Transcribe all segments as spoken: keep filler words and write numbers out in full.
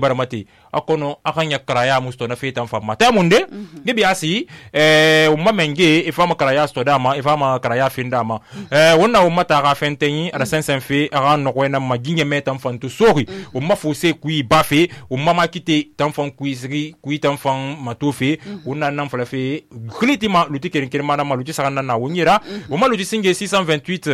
baramati akono akanya karaya musto na fetan famma ta munde gibi asi eh umma menge ifama karaya sto dama ifama karaya fin dama eh wonna umma ta ga fentenyi ada sensen fe aga no ko na maginye metan fantu sori umma fose kui bafe umma makite tan fan kui siri kui tan fan matofe wonna nan fala fe klitima luti kerin kerin mana maluti sagana na wonyira umma luti singe six cent vingt-huit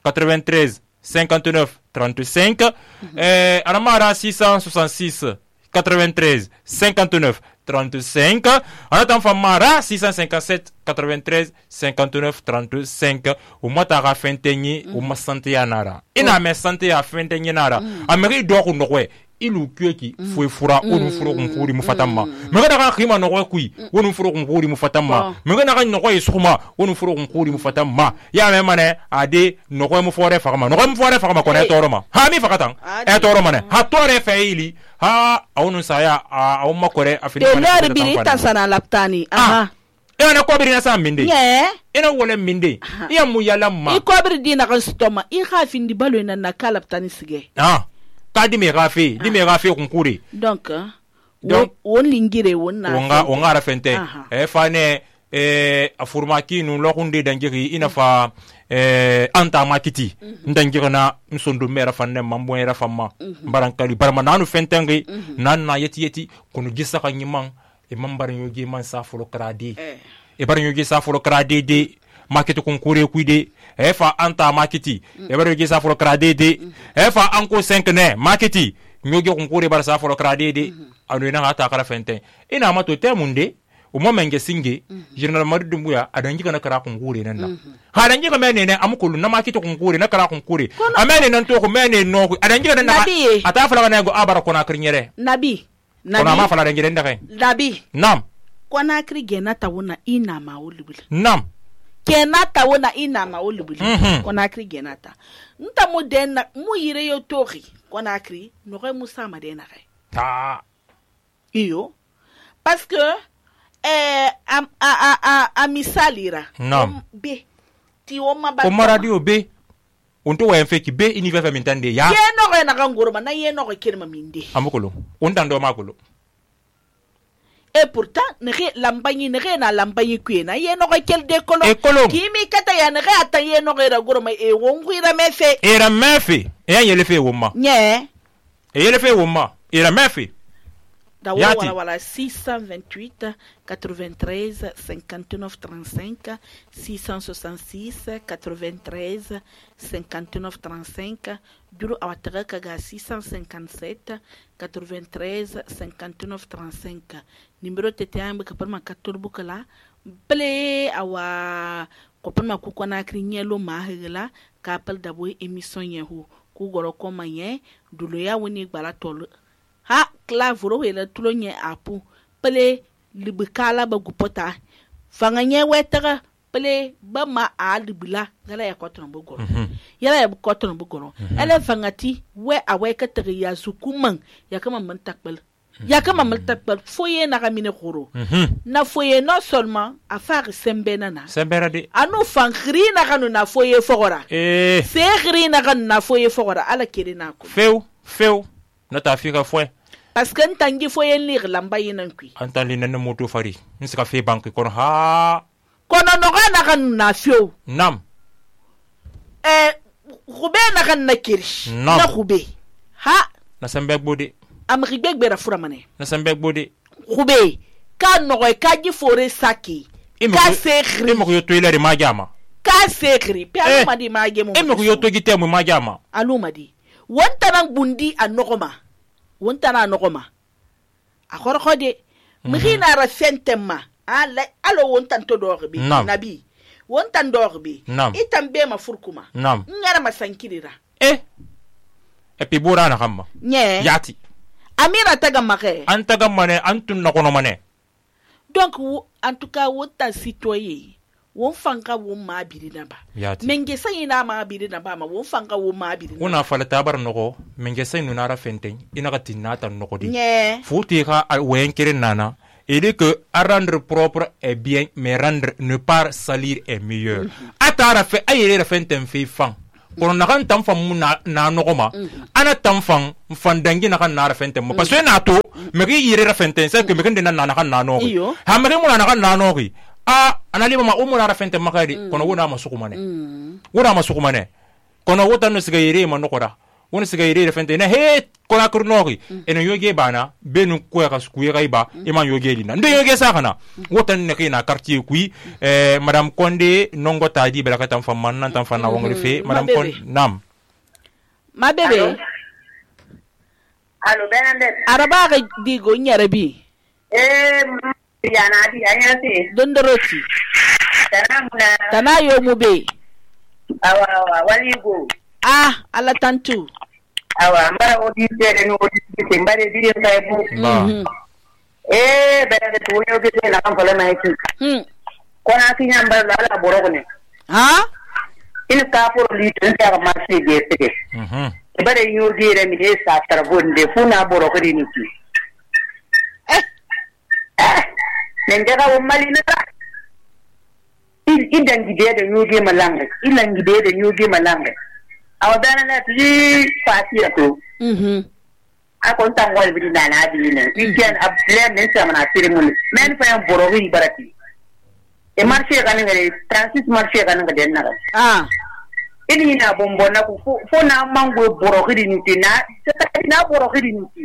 quatre-vingt-treize cinquante-neuf trente-cinq euh Anamara six cent soixante-six quatre-vingt-treize cinquante-neuf trente-cinq Anatan Famara six cent cinquante-sept quatre-vingt-treize cinquante-neuf trente-cinq Umata ra fentenyi umma sante ya nara ina me sante ya fentenyi nara ameri do ko nokwe ilu kyeki fue fura onu furo kunkuri mufatama mega na khima no kui onu furo kunkuri mufatama mega na no ko isuma onu furo kunkuri mufatama ya me mane ade no ko mu fore fakama no ko mu fore fakama ko ne toroma ha mi fakatan e toroma ne ha tore feili ha onu saya a umma kore afini de lor biri tasana laptani aha e na ko biri na sa minde ye ina wole minde ya mu yalamma i ko biri dina kan stoma i khafindi balo na na kalaptani sige ah kadi me gafe di me gafe kunkuri donc donc on lingire wonna onga onga rafente e fane e afurmaki nu lokunde dangiri ina fa e anta makiti ndangiri na msondo mera fanne mambo era famma mbarankali barma nanu fentengi nan na yeti yeti kunu gissa kan yiman e mambar yogi man safulo kradi e bar yogi safulo kradi de makiti kunkuri kuide e fa anta makiti e bar yogi safulo kradi de e fa anko cinq ne makiti nyogi kunkuri bar safulo kradi de anu ina hata kara fente ina mato temunde umma menge singe general maridu mbuya adangi kana kara kunkuri nanda ha adangi ka mene ne amukulu na makiti kunkuri na kara kunkuri amene nan to ko mene no adangi kana na ata fala na go abara kona krinyere nabi nabi kona ma fala dangire ndake nabi nam kona kri gena tawuna ina ma ulubul nam kena tawuna ina ma ulubul kona kri gena ta nta mu den mu yire yo tori kona kri no re musa ma den re ta iyo parce que eh a a a a misalira nam be ti o ma ba o radio be onto wa enfeki be ini vefa mintande ya ye no re na ngoroma na ye no re kirma minde amukolo ondando makolo et pourtant ne re lambanyi ne re na lambanyi kwena ye no re kel de kolo kimi kata ya ne re ata ye no re ra goroma e wonguira mefe era mefe e ya yele fe woma nye e yele fe woma era mefe da wala wala six cent vingt-huit quatre-vingt-treize cinquante-neuf trente-cinq six cent soixante-six quatre-vingt-treize cinquante-neuf trente-cinq duro awataka kaga six cent cinquante-sept quatre-vingt-treize cinquante-neuf trente-cinq numéro tete ambe kapalma katorbu kala ple awa kopalma kukona krinyelo mahela kapal dabwe émission yehu ku goro koma ye dulo ya woni gbala tolo ha klavuro wela tulonye apu pele libikala ba gupota fanganye wetara pele ba ma a libila gala ya kotron bugoro yala ya kotron bugoro ele fangati we awe ka tari ya sukuman ya kama man takbal ya kama man takbal foye na gamine khoro na foye non seulement a faire sembena na sembera de anu fangri na kanu na foye fogora eh se gri na kanu na foye fogora ala kirina ko feu feu nata fika fwe parce que ntangi foye lire lamba yinan kui antali nana moto fari nsika fe banki kono ha kono no kana kan na fio nam eh khube na kan na kirish na khube ha na sembe gbode am rigbe gbera fura mane na sembe gbode khube ka no ka gi fore saki ka sekri e mo yo to ile ma jama ka sekri pe anu madi ma gemo e mo yo to gite mo ma jama anu madi wonta nan bundi anokoma wonta na anokoma akhor khode mkhina ra fentema ala alo wonta to dorbi nabi wonta dorbi itambe ma furkuma ngara masankirira eh e pi bura na khamma nye yati amira taga make antaga mane antun na kono mane donc en tout cas wonta citoyen won fanka won ma biri naba menge sai na ma biri naba ma won fanka won ma biri una fala tabar noko menge sai nuna ra fenten ina ka tinata noko di yeah. futi ka wen kire nana et dit que à rendre propre est bien mais rendre ne pas salir est meilleur mm -hmm. atara fe ayere ra fenten fe fan kono na kan tan fan mu na na nogoma ana tan fan fan dangi na kan na ra fente mo parce que na to me gi yire ra fente c'est que me kan na na kan na no ha me mo na kan na no ri a anali ma umu na ra fente makari kono wona ma sukumane wona ma sukumane kono wota no siga yire ma no kora wona siga yire ra fente na he kola kurnori eno yoge bana benu ko ya kasku ya ba e man yoge lina ndo yoge sa kana wota ne kina quartier kui eh madame Konde nongo tadi bela katam fam man nan tam fana wongri fe madame Konde nam ma bebe allo Bernadette araba ga digo nyare bi eh yana di anyase dondoroti tanamuna tanayo mu be awa awa wali go ah ala tantu awa mbara odi tere no odi te mbare di fa bu eh Bernadette wo yo gete na kan fala mai hmm kona kinya mbara la boro ne ha in ka por li tan ta ma se de te mhm bare yo gere mi de sa tarbonde funa boro ko ni ki eh nenga wo malina il idan gide da yoge malanga ilan gide da yoge malanga awa dana na tuji fati to mhm akon tan wal bi na na bi ne igen ablen ne sama na tire mun men fa en borowi barati e marché kan ngare transit marché kan ngade na ah ini na bombo na ku fo na mango borowi ni tina na borowi ni ti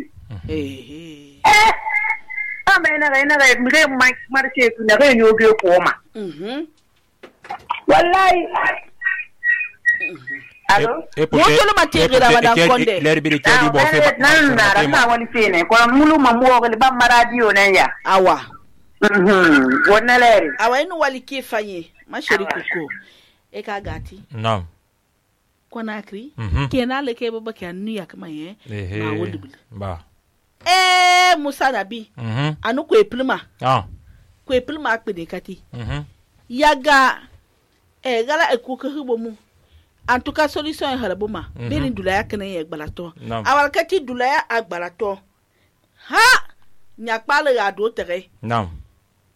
eh eh ame na ga na ga mi ga marché ku na ga yoge ko ma mhm wallahi allo e mo tolo matiri ra madame Konde ler bi ke di bo fe nan na ra ta woni fene ko mulu ma mo ko ba maradio nan ya awa mhm wona ler awa inu wali ke fanye ma sheri kuko e ka gati nam Conakry mhm kena le ke baba ke anu ya kama ye ma wodi ba eh Musa Nabi mhm anu ko eplima ah ko eplima akpede kati mhm yaga e gala e kuka hubo mu en tout cas solution harabuma mm-hmm. beni dulaya kana ye gbalato no. awal kati dulaya agbalato ha nyakpale ya do tere nam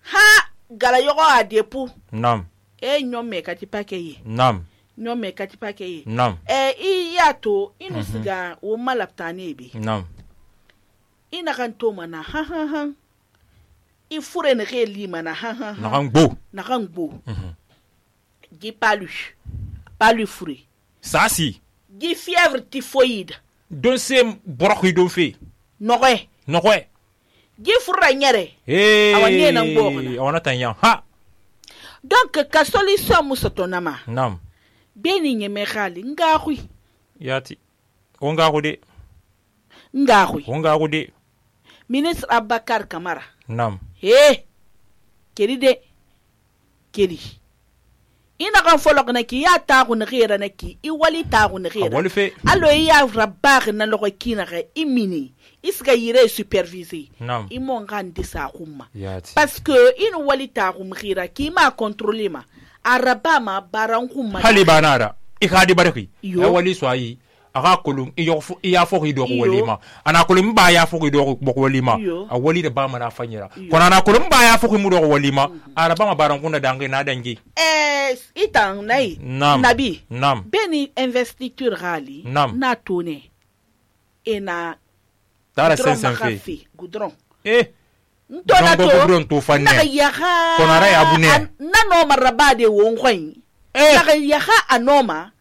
ha gala yogo adepu nam e nyome kati pakeye nam nyome kati pakeye nam e i yato inu mm-hmm. siga wo malaptane ebe nam ina kan to mana ha ha ha i fure ne re li mana ha ha na kan gbo na kan gbo mhm gi palu palu fure ça si gi fièvre typhoïde don se borokhi don fe noye noye gi fura nyere eh awanye na ngboga awana tanya ha donc ka solution musotonama nam beni nyeme khali ngakhwi yati onga gode ngakhwi onga gode ministre Abakar Kamara nam eh keri de keri ina kan folo kana ki ya ta ku ne gira na ki i wali ta ku ne gira wali fe allo ya rabar na lo kina ga imini iska yire superviser nam i mon kan disa kuma yati parce que in wali ta ku gira ki ma contrôler ma araba ma baran kuma hali banara i khadi baraki Yo. e wali so ayi aga kolum i yofu i ya foki do ko walima ana kolum ba ya foki do ko walima Yo. a wali de ba mana fanyira Yo. kona ana kolum ba ya foki mu do ko walima araba ma baran kunda dangi na dangi eh itan nai nam nabi nam beni investiture rali Nam. na tone ena dara goudron sen sen fe makafi goudron eh ntona Goudron to goudron to fanne. na yaha Konara ya abune. an- na no marabade wo ngwen Eh. na yaha anoma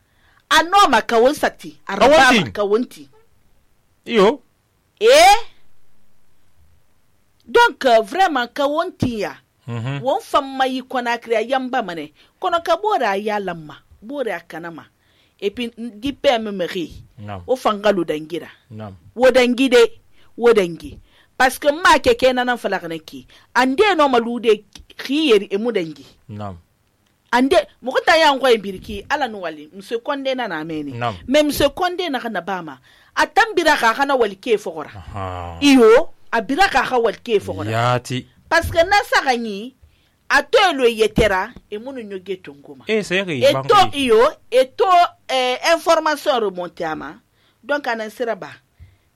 anoma kawonsati arabama Kawonti. kawonti iyo eh donc euh, vraiment kawonti ya mhm won famma yi Conakry a yamba mane kono ka bora ya lamma bora kanama et puis di pemmerie nam o fangalu dangira nam wodangi de wodangi parce que ma keke nanan falakana ki ande no malude khiyeri e mudangi nam ande mukota ya ngwa imbiriki ala no wali mse konde na na meni Nam. même mse konde na kana bama atambira ka kana wali ke fogora aha iyo abira ka ka wali ke fogora yati parce que na saganyi atelo yetera e munu nyoge tongoma eh seri et to iyo et to eh, information remonte ama donc anan siraba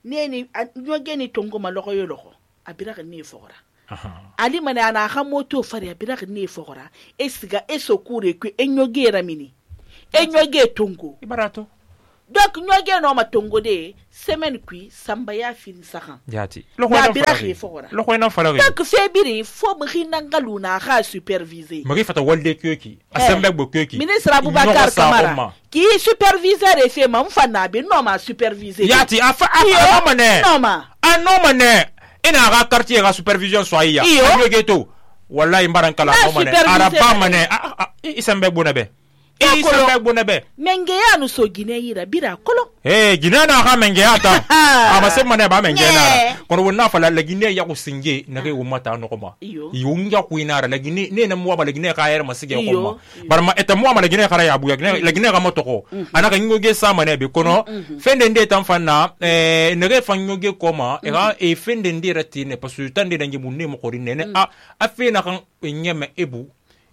neni nyoge ni tongoma loko yo loko abira ka ni fogora aha ali mane ana ha moto fari abira ka ni fogora e siga e sokure ku e nyoge ramini e nyoge tongo ibarato donc nyoge no ma tongo de semaine kui samba ya fin sahan yati lo ko na lo ko na fara donc febiri fo mo hinanga luna ha superviser magi fata walde kyoki asembe gbo kyoki ministre Abubakar Kamara ki superviseur e fe ma mfana be no ma superviser yati afa afa mane no ma a no mane ina ga quartier ga supervision so iya nyoge to wallahi mbaran kala no mane araba mane isembe gbo na be e isembe gbo na be menge ya no so gine yira bira kolo eh gine na ha menge ya ta aba se mane ba menge na kono wonna fala la gine ya ko singe na ke umata no ko ma yo nja ku ina la gine ne na muwa ba la gine ka yar masige ko ma bar ma eta muwa ma la gine kara ya bu ya la gine ga moto ko anaka ngoge sa mane be kono fende nde tan fanna eh ne re fanyoge ko ma e ga e fende nde ratine parce que tande dangi munne mo ko rinne a afena kan nyeme ebu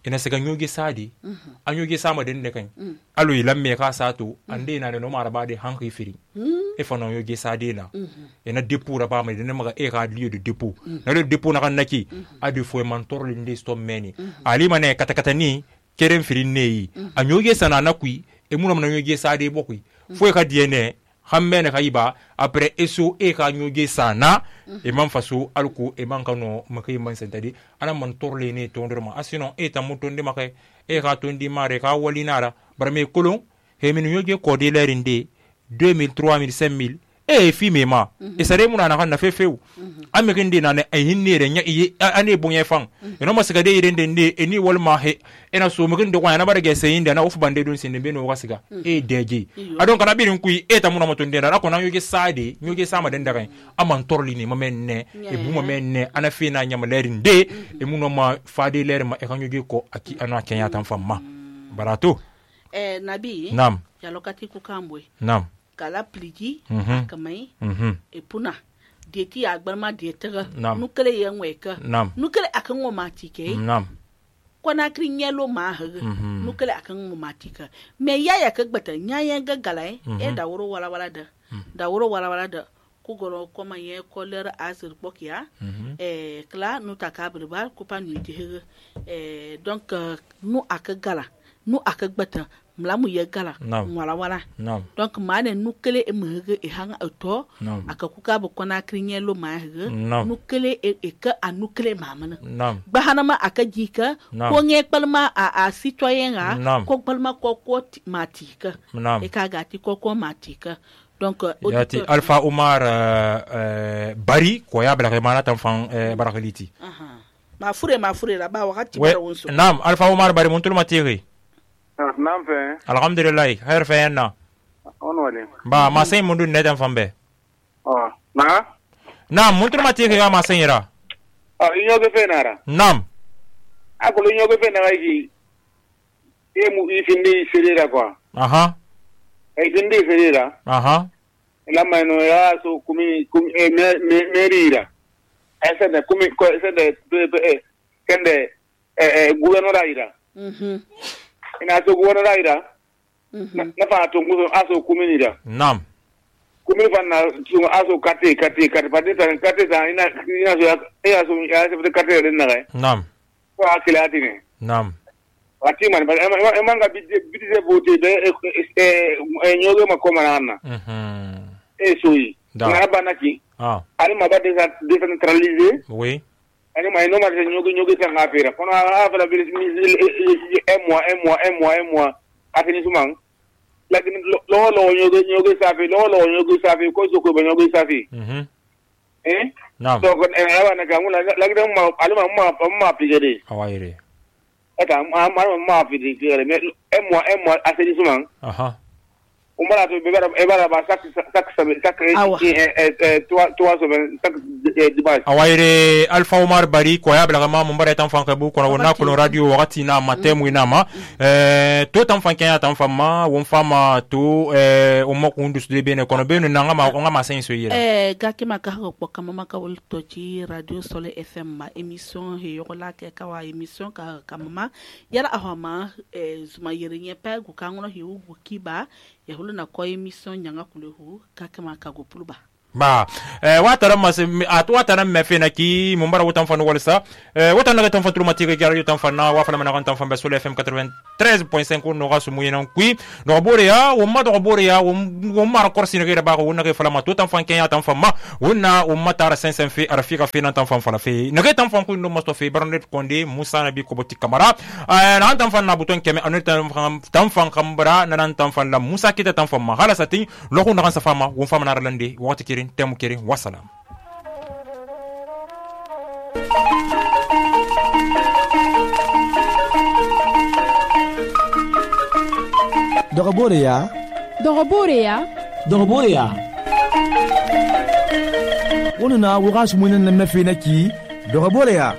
ina sega nyoge sadi mm -hmm. a nyoge sama den ne kan mm. alo yilam me ka sato mm. ande na no maraba de hanki firi mm. e fa no nyoge sadi na mm -hmm. ina depo ra ba ma den ma e ka lieu de depo mm. na le depo na kan naki mm -hmm. adu fo mentor le ndi sto meni mm -hmm. ali mane kata kata ni keren firi nei mm -hmm. a nyoge sana na kui e munam na nyoge sadi bokui mm -hmm. fo e ka diene hammene kaiba après eso e ka nyoge sana mm -hmm. e man faso alko e man kano makai man sentadi ana man torle ne tondorma asino e ta mutonde makai e ka tondi mare ka walinara barme kolon he min nyoge ko de lerinde deux mille trois mille cinq mille e fi mema mm -hmm. e sare muna na kan na fefew mm -hmm. ame kinde na ne e hinnere nya e ane bonye fan mm -hmm. e no masika de irende ne eni wolma he ena so mu kinde kwa na barage seyinde na ofu bande don sinde be no wasiga mm -hmm. e deje adon kana birin kui e ta muna mutunde na ko na yoge sade yoge sama den daga aman torli ni mamenne yeah. e buma menne ana fi na nya malerinde mm -hmm. e muno ma fade ler ma e kan yoge ko aki ana kenya tan famma mm -hmm. barato eh nabi nam ya lokati ku kambwe nam kala pligi mm -hmm. akamai mm -hmm. e puna deti agbarma detega nukele yenweka nukele akan wo matike nam kona krin yelo ma ha mm -hmm. nukele akan wo matika me yaya ka gbata nyayen gagalai mm -hmm. e da woro wala wala da mm -hmm. da woro wala wala da ku goro koma ye koler azir bokia mm -hmm. e kla nu takabri bal ku pa nu ti e donc uh, nu aka gala nu aka gbata mlamu ye gala wala wala no. donc mane nukele e mhege e hanga auto no. akakuka bo kona krinye lo ma hege no. nukele e, e ka anukele mamana no. bahanama akajika no. ko nge palma a, a citoyen ga no. ko palma ko ko matika no. e ka gati ko ko matika donc uh, yati uh, Alpha Omar uh, uh, Bari ko ya bla mana tan fan uh, barakaliti aha ma fure ma fure la ba wakati bara wonso nam Alpha Omar Bari mun tul matiri Naam fe. Alhamdulillah, khair fe na. On wale. Ba ma sai mundu ne dan fambe. Oh, na? Nam, mun tur mati ga ma sai ira. Oh, inyo ge fe nara. Nam. Ako inyo ge fe na yi. E mu ifindi serera kwa. Aha. E dindi serera. Aha. La mano ya so kumi kumi e me merira. Esa de kumi ko esa de e kende e gouvernement ira. Mhm. Ina so gona raida na fa to nguzo aso kumini da nam kumini fa na so aso kate kate kate pade ta kate ta ina ina so ya so ya se kate ren na ga nam ko akila atine nam ati man ba e manga bidde bidde vote de e nyoge makoma na mhm e soyi na banaki ah ari mabade décentralisé oui ani mai no marse nyoge nyoge tan afira kono afira bilis un mois un mois un mois un mois afini suman lakini lo lo nyoge nyoge safi lo lo nyoge safi ko so ko nyoge safi mhm eh nam so ko en awa na kamu lakini ma alima ma ma pigede awaire eta ma ma ma pigede un mois un mois afini suman aha umara to bebara ebara ba sak sak sak eh toi toi so sak dimanche awaire Alpha Omar Bari ko ya blaga ma mbare tan fan kabu ko na ko radio wakati na matemu ina ma eh to tan fan kenya tan fama won fama to eh o mo ko ndus de bene ko no bene na ngama ko ngama sen so yira eh gaki maka ko kama maka wol to ci radio Sole F M ma émission he yo la ke ka wa émission ka kama yara ahoma eh zuma yirinye pa ku kangono he u kiba ya hulu na ko émission nyanga kulehu kaka maka go puluba ba eh watara mas at watara me fena ki mo mbara wotan fanu walsa eh wotan naga tan fatru matire gar yotan fanna wa fana mana tan famba sur F M quatre-vingt-treize point cinq no gasu muyena kui no boreya wo ma do boreya wo mara korsi ne gere ba ko wona ke fala ma to tan fan kenya tan fama wona wo matara cinq cents fi arafika fi nan tan fan fala fi naga tan fan ku no masto fi barnet konde Musa Nabi ko boti kamara eh nan tan fan na buton keme anu tan fan kambara nan tan fan la Musa kita tan fan ma hala satin lo ko na kan safama wo fama na ralande wati kiri temu kiri wassalam. Dogoboreya Dogoboreya Dogoboreya Wonu na wuga sumunen na mefena ki Dogoboreya